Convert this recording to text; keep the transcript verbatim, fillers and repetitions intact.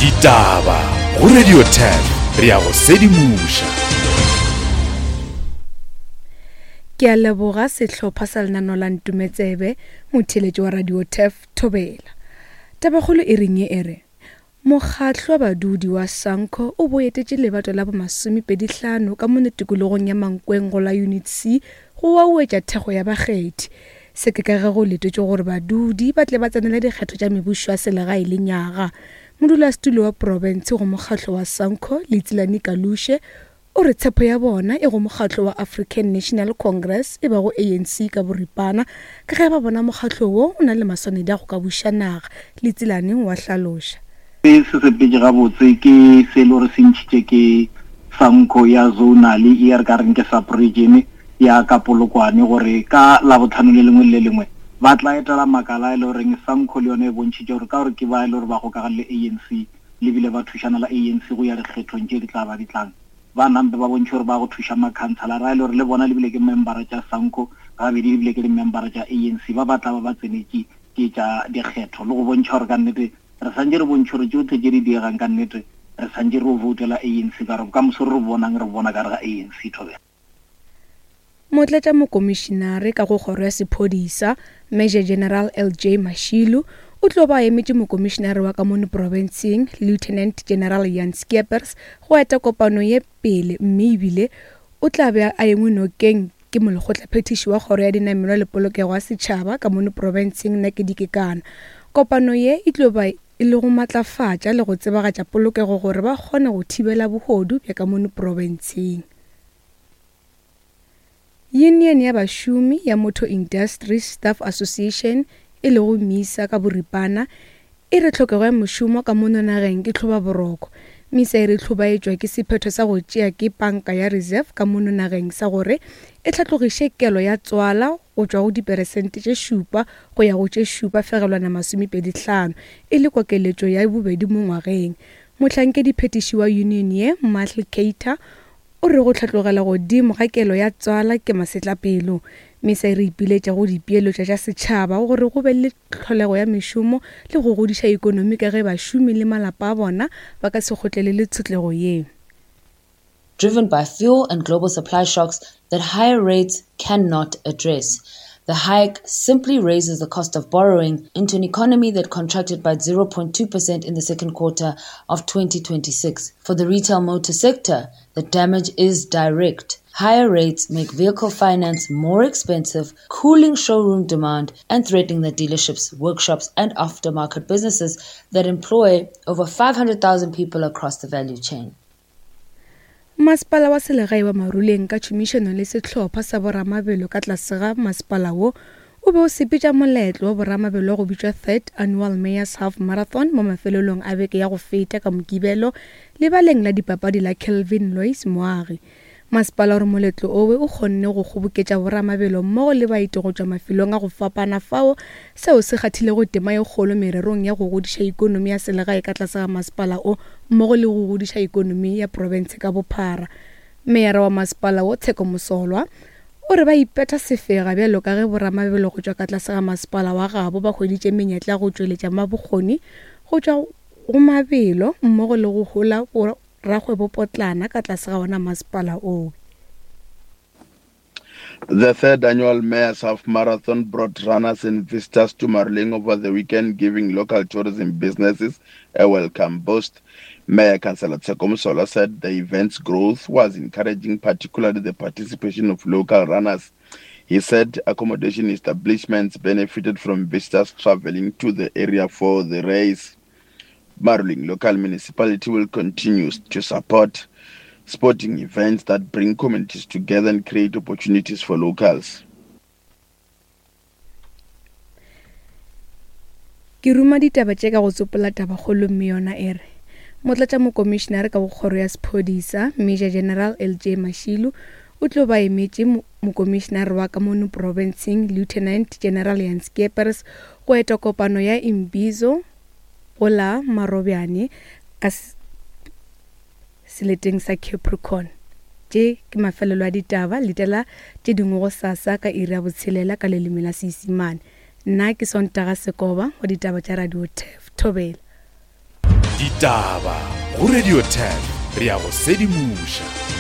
Ditaba go Radio Turf, re ya go sedimoša. Ke a leboga sehlopha sa lenaneo la Ntumetsebe, motheeletši wa Radio Turf Thobela. Tabakgolo e reng e re, Mokgatlo wa badudi wa Sanco o boetetše lebato la bomasomepedi hlano ka mono tikologong ya Mankweng go la Unit C go wauetša thekgo ya bakgethi. Se ke ka ge go letetšwe gore badudi ba tle ba tsenele dikgetho tša mebušo ya selegae le nyaga. Modulasetulo wa profense go mokgatlo wa Sanco, Leitsilane Kalushe, o re tshepo ya bona e go mokgatlo wa African National Congress e bago A N C ka boripana ka ge ba bona mokgatlo wo o na le maswanedi a go ka buša naga. Leitsilane wa hlaloša. Se se sepetše gabotse ke se le gore se ntšhitše ke Sanco ya zonal e re ka reng ke sub-region ya ka Polokwane gore ka Labohlano le lengwe le lengwe ba tla etela makala e le goreng Sanco le yone e bontšhitše gore ka gore ke ba e le gore ba gokagane le A N C le bile ba thušana la A N C go ya dikgethong tše di tla ba di tlang. Ba nampe ba bontšhe gore ba go thuša makhanselara a e le gore le bona le bile ke membera tša Sanco gabedi le bile ke di-membera tša A N C ba ba tla ba ba tsenetše ke tša dikgetho le go bontšha gore ka nnete re santše re bontšhe gore tšohle tše di diegang ka nnete re santše re voutela A N C ka gore bokamoso re bonang re bona ka re ga A N C thobela. Motlatša mokomišinare ka go kgoro ya sephodisa Major General L J Mashilu o tlo ba emetše mokomišinare wa ka mono profenseng Lieutenant General Jan Skeepers go eta kopano ye pele mme ebile o tla be a engwe nokeng ke molekgotlaphethiši wa kgoro ya dinamelwa le polokego ya setšhaba ka mono profenseng Nakedi Kekana. Kopano ye e tlo ba e le go matlafatša le go tsebagatša polokego gore ba kgone go thibela bohodu bja ka mono profenseng. Union ya bašomi ya Motor Industry Staff Association e lego MISA ka boripana e re tlhokego ya mošomo ka mono nageng ke tlhobaboroko. MISA e re hlobaetšwa ke sephetho sa go tšea ke panka ya Reserve ka mono nageng sa gore e hlatlogiše kelo ya tswala go tšwa go diperesente tše šupa go ya go tše šupa fegelwana masomepedi hlano e le kokeletšo ya bobedi mo ngwageng. Mohlankedi phetiši wa union ye Michael Cater o re go hlatlogela godimo ga kelo ya tswala ke masetlapelo. MISA e re ipiletša go dipeeletšo tša setšhaba gore go be le tlholego ya mešomo le go godiša ikonomi ka ge bašomi le malapa a bona ba ka se kgotlelele tshotlego ye. Driven by fuel and global supply shocks that higher rates cannot address. The hike simply raises the cost of borrowing into an economy that contracted by zero point two percent in the second quarter of twenty twenty-six. For the retail motor sector, the damage is direct. Higher rates make vehicle finance more expensive, cooling showroom demand and threatening the dealerships, workshops and aftermarket businesses that employ over five hundred thousand people across the value chain. Masepala wa selegae wa Maruleng ka tšhomišano le sehlopha sa boramabelo ka tlase ga masepala wo o be o sepetša moletlo wa boramabelo wa go bitšwa Third Annual Mayor's Half Marathon mo mafelelong a beke ya go feta ka Mokibelo lebaleng la dipapadi la Kelvin Lois Moagi. Masepala o re moletlo owe o kgonne go kgoboketša boramabelo mmogo le baeti go tšwa mafelong a go fapana fao seo se kgathilego tema ye kgolo mererong ya go godiša ikonomi ya selegae ka tlase ga masepala o mmogo le go godiša ikonomi ya profense ka bophara. Meyara wa masepala wo Tsheko Mosolwa o re ba ipetha sefega bjalo ka ge boramabelo go tšwa ka tlase ga masepala wa gabo ba hweditše menyetla go tšweletša mabokgoni go tšwa go mabelo mmogo le go hola rakgwebopotlana ka tlase ga ona masepala oo. The third annual Mayor's Half Marathon brought runners and visitors to Maruleng over the weekend, giving local tourism businesses a welcome boost. Mayor Councillor Tsheko Mosolwa said the event's growth was encouraging, particularly the participation of local runners. He said accommodation establishments benefited from visitors traveling to the area for the race. Maruleng local municipality will continue to support sporting events that bring communities together and create opportunities for locals. Ke ruma ditaba tše ka go tsopola tabakgolo mme yona e re motlatša mokomišinare ka go kgoro ya sephodisa Major General L J Mashilu o tlo ba emetše mokomišinare wa ka mono profenseng Lieutenant General Jan Skeepers go eta kopano ya Imbizo go la Marobjane ka seleteng sa Capricorn. Tše ke mafelelo a ditaba, letela tše dingwe go sasa ka iri ya botshelela ka leleme la Seisemane. Nna ke Sontaga Sekoba wa ditaba tša Radio Turf Thobela. Ditaba go Radio ten re ya go sedimoša.